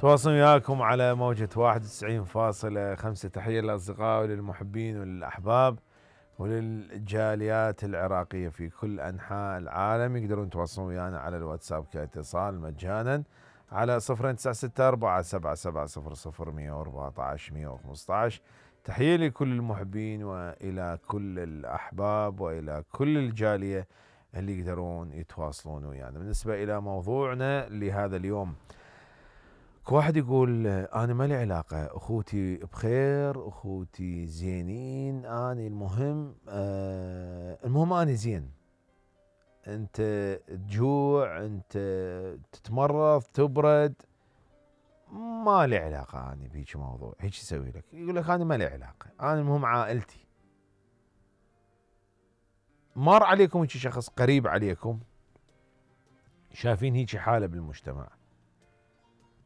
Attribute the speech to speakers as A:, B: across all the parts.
A: تواصل وياكم على موجة 91.5. تحية للأصدقاء وللمحبين وللأحباب وللجاليات العراقية في كل أنحاء العالم. يقدرون يتواصلون ويانا على الواتساب كاتصال مجانا على 029647700114 تحية لكل المحبين وإلى كل الأحباب وإلى كل الجالية اللي يقدرون يتواصلون ويانا. بالنسبة إلى موضوعنا لهذا اليوم، واحد يقول أنا ما لي علاقة، أخوتي بخير، أخوتي زينين، أنا المهم أنا زين، أنت تجوع، أنت تتمرض، تبرد، ما لي علاقة أنا بهيك موضوع. هيك يسوي لك، يقول لك أنا ما لي علاقة، أنا المهم عائلتي. مر عليكم هيك شخص قريب عليكم شايفين هيك حالة بالمجتمع،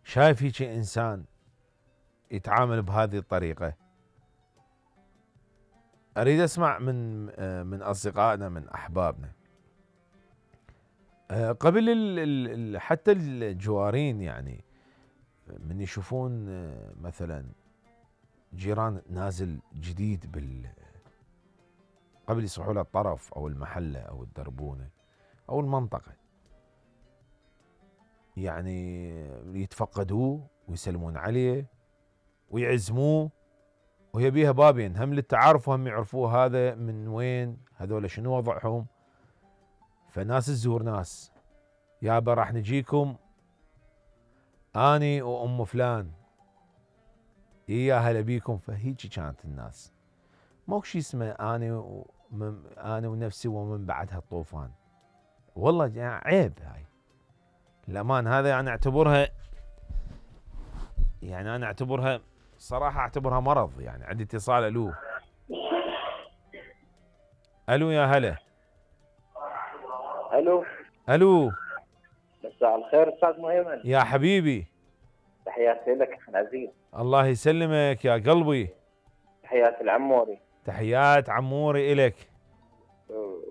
A: شايف هيك إنسان يتعامل بهذه الطريقة؟ أريد أسمع من أصدقائنا، من أحبابنا. قبل حتى الجوارين، يعني من يشوفون مثلا جيران نازل جديد قبل يصحوا له الطرف أو المحلة أو الدربونة أو المنطقة، يعني يتفقدوه ويسلمون عليه ويعزموه، وهي بيها بابين، هم للتعارف وهم يعرفوه هذا من وين، هذول شنو وضعهم. فناس تزور ناس، يابا راح نجيكم اني وام فلان، يا هلا بيكم. فهيك كانت الناس، ماكو شيء اسمه انا ونفسي ومن بعدها الطوفان. والله يعني عيب هاي الامان. هذا انا اعتبرها صراحة اعتبرها مرض. يعني عندي اتصال. الو يا هلا. الو
B: مساء الخير استاذ مهيمن.
A: يا حبيبي،
B: تحياتي لك اخي العزيز.
A: الله يسلمك يا قلبي.
B: تحياتي العموري.
A: تحيات عموري إلك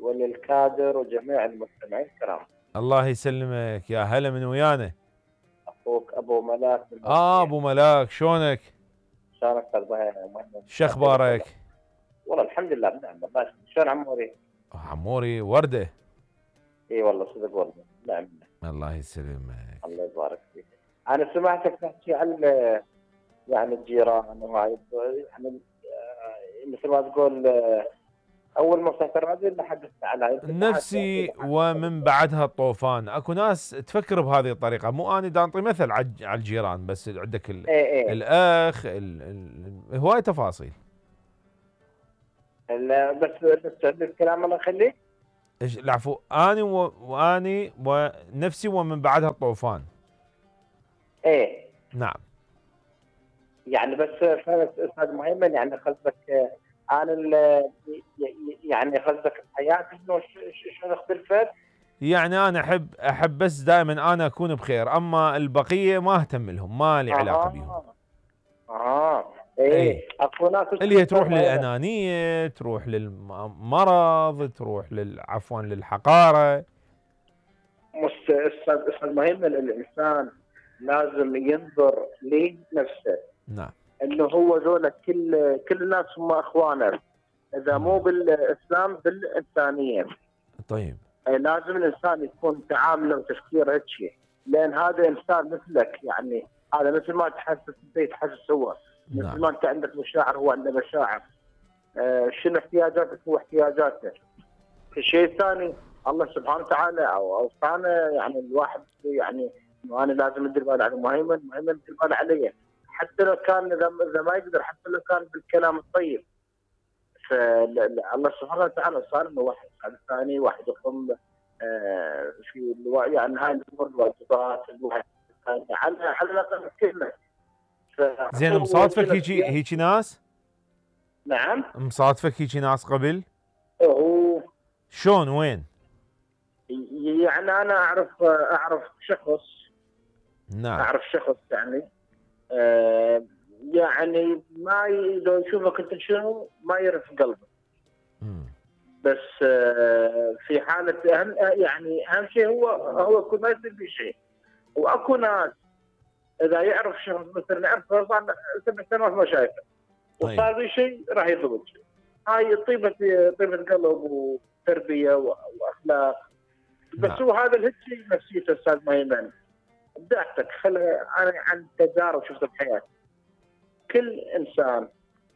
B: وللكادر وجميع المستمعين الكرام.
A: الله يسلمك. يا هلا، من ويانا؟
B: اخوك ابو ملاك.
A: ابو ملاك، شلونك؟
B: شلونك استاذ مهيمن؟
A: شو اخبارك؟
B: والله الحمد لله بنعم. والله شلون عموري؟
A: عموري ورده.
B: اي والله صدق والله نعم.
A: الله يسلمك.
B: الله يبارك فيك. انا سمعتك تحكي عن يعني الجيران وهاي، يعني مثل ما تقول اول ما فتحت الراديو اللي حدثت على
A: نفسي ومن بعدها الطوفان. اكو ناس تفكر بهذه الطريقه، مو انا دا انطي مثل على الجيران بس، عندك الاخ هواي تفاصيل.
B: لا بس الكلام الله يخليك.
A: العفو. اني ونفسي ومن بعدها الطوفان.
B: ايه
A: نعم.
B: يعني بس استاذ مهيمن، يعني قصدك انا يعني قصدك حياتي شنو اختلفت؟
A: يعني انا احب بس دائما انا اكون بخير، اما البقيه ما اهتم لهم، ما لي علاقه بهم.
B: ايه اكو ناس
A: اللي هي تروح للانانيه، تروح للمرض، تروح عفوا للحقاره.
B: استاذ مهيمن، الانسان لازم ينظر لنفسه.
A: نعم.
B: انه هو ذولا كل الناس هم اخوانه، اذا مو بالاسلام بالانسانيه.
A: طيب
B: لازم الانسان يكون تعامله وتفكيره هيك شيء، لان هذا انسان مثلك. يعني هذا مثل ما تحسس انت يتحسس هو.
A: نعم.
B: مثل ما انت عندك مشاعر هو عنده مشاعر. شنو احتياجاتك هو احتياجاته. الشيء الثاني الله سبحانه وتعالى اوصانا، يعني الواحد يعني انه انا لازم ادير بالي على مهيمن يدير بالي علي، حتى لو كان اذا ما يقدر، حتى لو كان بالكلام الطيب. فالله سبحانه وتعالى صار انه واحد على الثاني، واحد يقوم في يعني هاي الامور الواجبات الواحد على الاقل كلمه.
A: زين، مصادفك هيك ناس؟
B: نعم.
A: مصادفك هيك ناس قبل؟ شلون وين؟
B: يعني انا اعرف شخص.
A: نعم.
B: اعرف شخص يعني يعني ما لو يشوفك انت شنو ما يعرف قلبه. بس في حاله يعني اهم شيء هو يكون ما يصير في شيء. واكو ناس اذا يعرف شخص مثلا يعرف صار 7 سنوات ما شايفه
A: طيب.
B: وصار لي شيء راح يضبط. هاي طيبه قلب وتربيه واخلاق. بس
A: نعم.
B: هو هذا الهيك نفسيته استاذ ميمن. ابداعتك انا عن تجارب شفتها بحياتي. كل انسان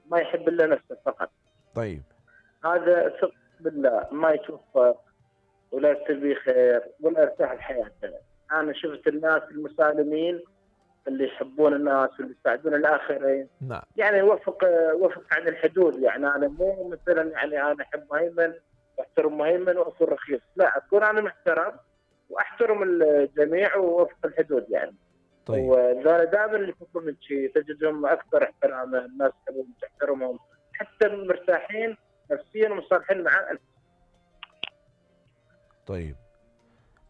B: ما يحب الا نفسه فقط.
A: طيب.
B: هذا ثق بالله ما يتوفق ولا تبي خير ولا يرتاح بحياته. انا شفت الناس المسالمين اللي يحبون الناس واللي يساعدون الاخرين.
A: نعم.
B: يعني وفق عن الحدود. يعني انا مو مثلا يعني انا احب مهيمن واحترم مهيمن واكون رخيص، لا اكون انا محترم واحترم الجميع ووفق الحدود يعني.
A: طيب.
B: وانا دائما اللي يفضلون من شيء تجدهم اكثر احتراما، الناس تحبهم تحترمهم، حتى مرتاحين نفسيا ومصالحين مع.
A: طيب.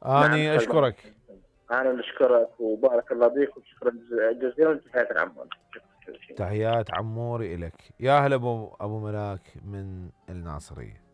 B: نعم
A: اني اشكرك.
B: انا نشكرك وبارك الله بك وشكرا جزيلا. تحياتي عمور.
A: تحيات عموري إلك. يا هلا ابو ملاك من الناصرية.